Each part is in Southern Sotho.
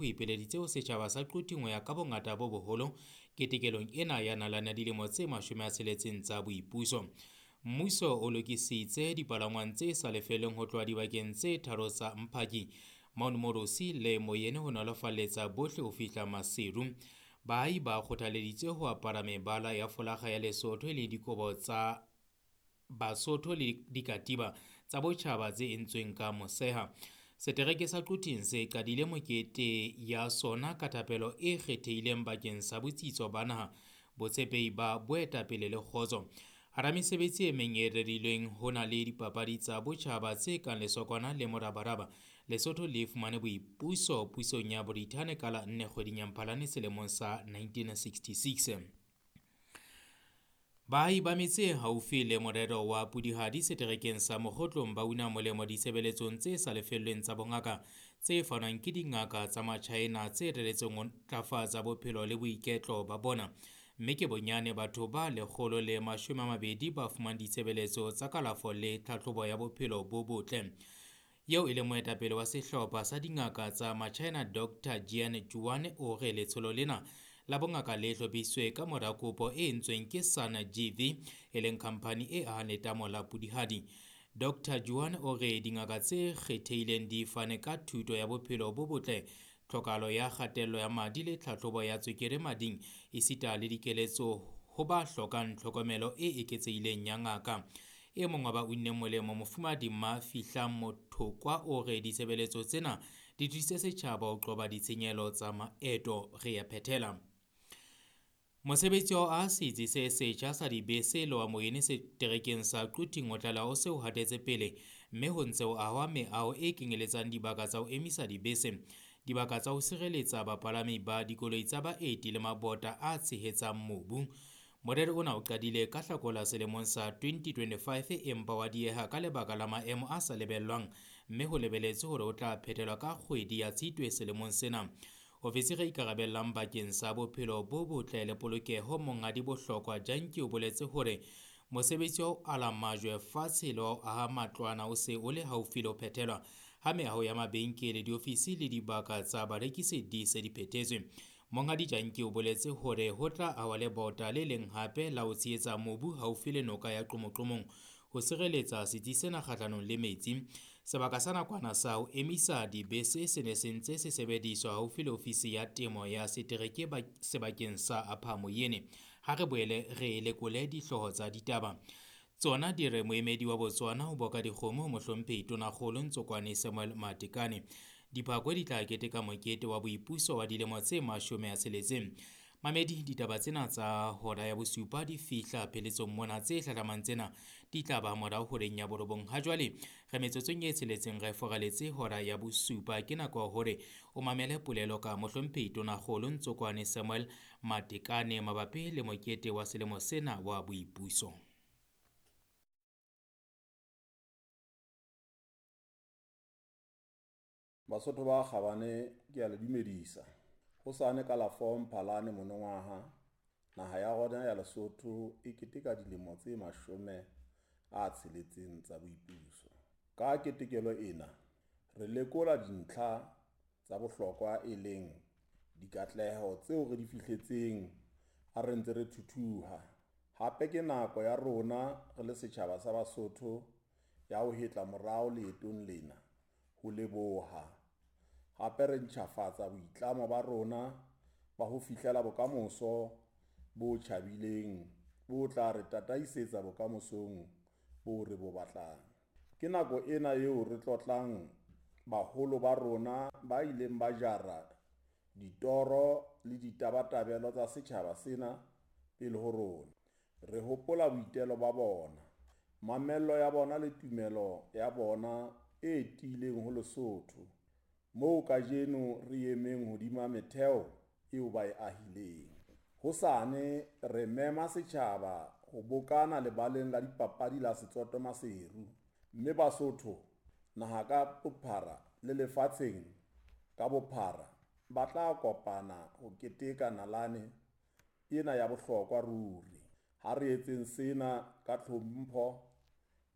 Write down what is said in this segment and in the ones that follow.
O ipileditse ho setjhaba sa Quthing ho ya ka bongata bo boholo ketekelong ena ya nalane ya dilemo tse 60 tsa boipuso. Mmuso o lokisitse dipalangwang tse sa lefellweng ho tloha dibakeng tse tharo tsa Mphaki, Mount Moorosi le Moyene ho nolofaletsa bohle ho fihla Maseru. Baahi ba kgothaleditswe ho apara mebala ya folakga ya Lesotho e leng dikobo tsa Basotho le dikatiba tsa botjhaba tse entsweng ka moseha. Setereke sa Quthing se qadile mekete ya sona ka thapelo e kgethehileng bakeng sa botsitso ba naha, botshepehi ba boetapele le kgotso. Hara mesebetsi e meng e rerilweng ho na le dipapadi tsa botjhaba tse kang lesokwana le morabaraba. Lesotho le fumane boipuso pusong ya Brithani ka la 4 kgweding ya Mphalane selemong sa 1966. Baahi ba metse e haufi le morero wa Pudihadi seterekeng sa Mokhotlong ba una molemo ditshebeletsong tse sa lefellweng tsa bongaka tse fanwang ke dingaka tsa Machaena tse reretsweng ho ntlafatsa bophelo le boiketlo ba bona. Mme ke bonyane batho ba 120 ba fumanang ditshebeletso tsa kalafo le tlhahlobo ya bophelo bo botle. Eo e leng moetapele wa sehlopha sa dingaka tsa Machaena Dr. Jian Juan o re letsholo lena la bongaka le hlophisitswe ka mora kopo e entsweng ke Sun GV e leng khamphani e ahang letamo la Pudihadi. Dr. Juan o re dingaka tse kgethehileng di fane ka thuto ya bophelo bo botle, tlhokahalo ya kgatello ya madi le tlhahlobo ya tswekere mading esita le dikeletso ho ba hlokang tlhokomelo e eketsehileng ya ngaka. E mong wa ba unneng molemo Mofumahadi Mafihlang Mothokwa o re ditshebeletso tsena di thusitse setjhaba ho qoba ditshenyehelo tsa maeto. Re ya phethela. Mosebetsi wa ho aha setsi se setjha sa dibese le wa Moyene seterekeng sa Quthing o tlaleha o se o hatetse pele mme ho ntse ho ahwa meaho e kenyeletsang dibaka tsa ho emisa dibese, dibaka tsa ho sireletsa bapalami ba dikoloi tsa baeti le mabota a tshehetsang mobu. Morero ona o qadile ka Hlakola selemong sa 2025 empa wa dieha ka lebaka la maemo a sa lebellwang mme ho lebeletswe hore o tla phethelwa ka kgwedi ya Tshitwe selemong sena. Ofisiri e ikarabellang bakeng sa bophelo bo botle le polokeho Monghadi Bohlokwa Janki o boletse hore mosebetsi wa ho ala majwe fatshe le wa ho aha matlwana o se o le haufi le ho phethelwa ha meaho ya mabenkele, diofisi le dibaka tsa barekisi di se di phethetswe. Monghadi Janki o boletse hore ho tla ahwa lebota le leng hape la ho tshehetsa mobu haufi le noka ya Qomokqomong ho sireletsa setsi sena kgahlanong le metsi. Sebaka sa nakwana sa ho emisa dibese se ne se ntse se sebediswa haufi le ofisi ya temo ya setereke sebakeng sa Upper Moyene. Ha re boele re lekole dihlooho tsa ditaba. Tsona di re moemedi wa Botswana ho boka dikgomo ho mohlomphehi Tonakgolo Ntsokwane Samuel Matekane. Diphakwe di tla keteka mokete wa boipuso wa dilemo tse 60. Mamedi, ditaba tsena tsa hora ya bosupa di fihla pheletsong mona. Tse hlahlamang tsena di tla ba morao horeng ya borobong. Ha jwale re metsotsong e 6 re foraletse hora ya bosupa. Ke nako ya hore o mamele polelo ka mohlomphehi Tonakgolo Ntsokwane Samuel Matekane mabapi le mokete wa selemo sena wa boipuso. Basotho ba kgabane, ke a le dumedisa. Hosane ka la 4 Mphalane monongwaha, naha ya rona ya Lesotho e keteka dilemo tse 60 tsa boipuso. Ka ketekelo ena, re lekola dintlha tsa bohlokwa e leng dikatleho tseo re di fihletseng ha re ntse re thuthuha. Hape ke nako ya rona re le setjhaba sa Basotho ya ho hetla morao leetong lena ho leboha, hape re ntjhafatsa boitlamo ba rona ba ho fihlela bokamoso bo tjhabileng bo tla re tataisetsa bokamosong boo re bo batlang. Ke nako ena eo re tlotlang baholo ba rona ba ileng ba jara ditoro le ditabatabelo tsa setjhaba sena pele ho rona. Re hopola boitelo ba bona, mamello ya bona le tumelo ya bona e tiileng ho Lesotho, moo kajeno re emeng hodima metheo eo ba e ahileng. Hosane re mema setjhaba ho bokana lebaleng la dipapadi la Setsoto Maseru, mme Basotho naha ka bophara le lefatsheng ka bophara ba tla kopana ho keteka nalane ena ya bohlokwa ruri. Ha re etseng sena ka tlhompho,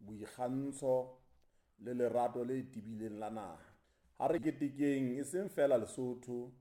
boikgantsho le lerato le tebileng la naha. Ha re ketekeng e seng feela Lesotho.